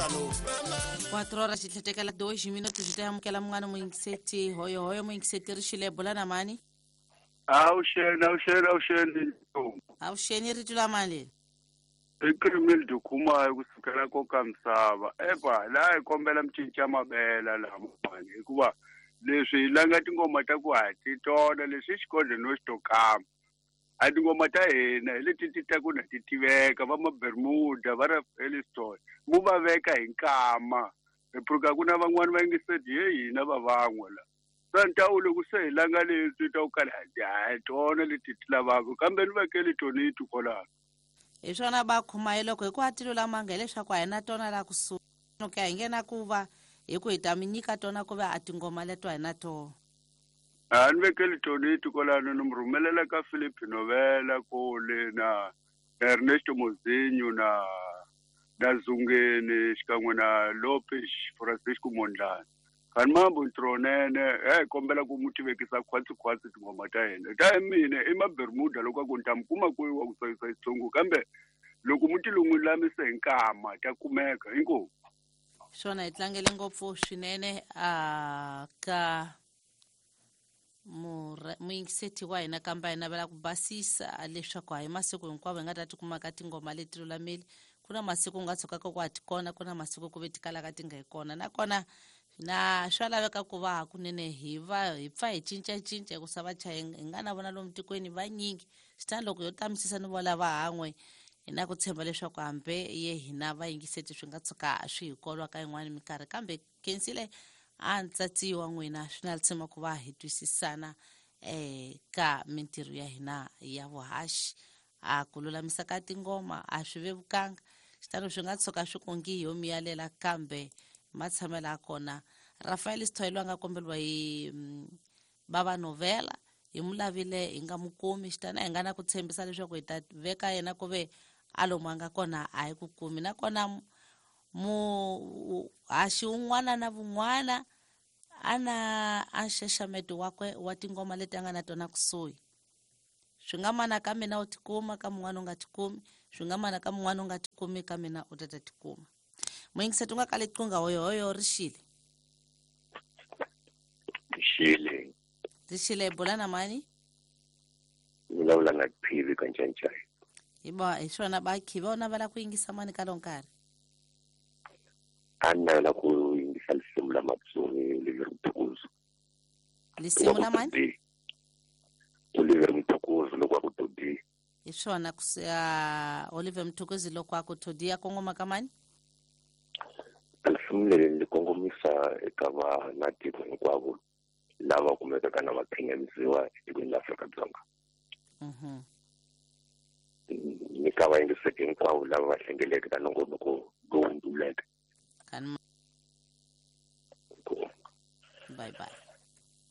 4 horas xi tlhetekela 2 minutos hi ta amukela mun'wana muyingiseti hoyohoyo muyingiseti ri xile bula na mani. Avuxeni, avuxeni, avuxeni. Avuxeni, rito la mani leri? I Crimildo Khumayo kusukela ko ka misava. Epa, laha hi kombela mi cinca mavela lamawani hikuva leswi hi langa tingoma ta ku ha ti tona leswi i xikodlo no xi to kama. A tingoma ta hina hi leti ti ta ku na ti tiveka va ma-Bermuda va ra Elliston mu va veka hi nkama. Hi pfuka ku na van'wani va yingiseti he hina va van'we la. Swa loko se hi langa leswi ta ku kala hi tona leti ti lavaka kambe ni vekeli tonito kwalano. Hi swona va Khumayo, loko hi ku a ti lulamanga hileswaku a hi na tona laha kusuhi ka hi nge na ku va hi ku hi ta mi nyika tona ku va a tingoma leto a hi na tona. A ni vekeli tonito kwalano ni mi rhumelela ka Philip Novela kule na Ernesto Mozinho na Zungeni xikan'we na Lopes Francisco Mondlane. Kani mambo ntronene he kombela ku mu tivekisa khwatsi khwatsi tingoma ta hina ta mina i ma-Bermuda loko a ku ni ta mi kuma kwihi wa ku tsakisa xitsongo kambe loko mu ti lungulamise hi nkama ta kumeka inkomu. Swona hi tlangele ngopfu swinene a ka muyingiseti wa hina kambe hi navela ku basisa leswaku a hi masiku hinkwawo hi nga ta tikuma ka tingoma leti lulamile. Ku na masiku u nga tshukaka ku a ti kona, ku na masiku ku ve ti kalaka ti nga hi kona, nakona na swa laveka ku va hakunene hi va hi pfa hi cincacinca hikusa vachayi hi nga na vona lomu tikweni vanyingi. Xitani loko yo tamisisa ni vola va han'we hi na ku tshemba leswaku hambi ye hina vayingiseti swi nga tshuka swi hi kolwa ka yin'wani minkarhi, kambe khensile a ntsatsi wa n'wina swi na tshemba ku va hi twisisana ka mintirho ya hina ya vuhaxi. A ku lulamisa ka tingoma a swi vevukanga, xitano swi nga tshuka swi kongi yo miyalela kambe matshamelo ya kona. Rafael Sithole a nga komberiwa hi bava Novela hi mu lavile hi nga mu kumi, xitana hi nga na ku tshembisa leswaku hi ta veka yena ku ve a lomu a nga kona a hi ku kumi. Nakona muhaxi un'wana na vun'wana a na a nxaxameto wakwe wa tingoma leti a nga na tona kusuhi. Swi nga mana ka mina u tikuma, ka mun'wana u nga tikumi, swi nga mana ka mun'wana u nga tikumi, ka mina u ta ta tikuma. Muyingiseti u nga kali qunga hoyohoyo ri xile. Xile. Ri xile bula na mani? Vulavula na Khivi ka Ncancai. Hi ba hi swona ba Khivi u navela ku yingisa mani ka lonkarhi? A navela ku yingisa lisimu la Matsongi Oliver Mtukudzi. Lisimu la mani? Oliver Mtukudzi loko a ku Todi. Hi swona ku Oliver Mtukudzi loko a ku Todi ya kongoma ka mani? Lisimu leri ni kongomisa eka vanatiko hinkwavo lava kumekaka na va khinyanisiwa etikweni la Afrika-Dzonga. Ni ka vayingiseki hinkwavo lava va hlengeleke ka nongonoko lowu nduleke. Bye bye.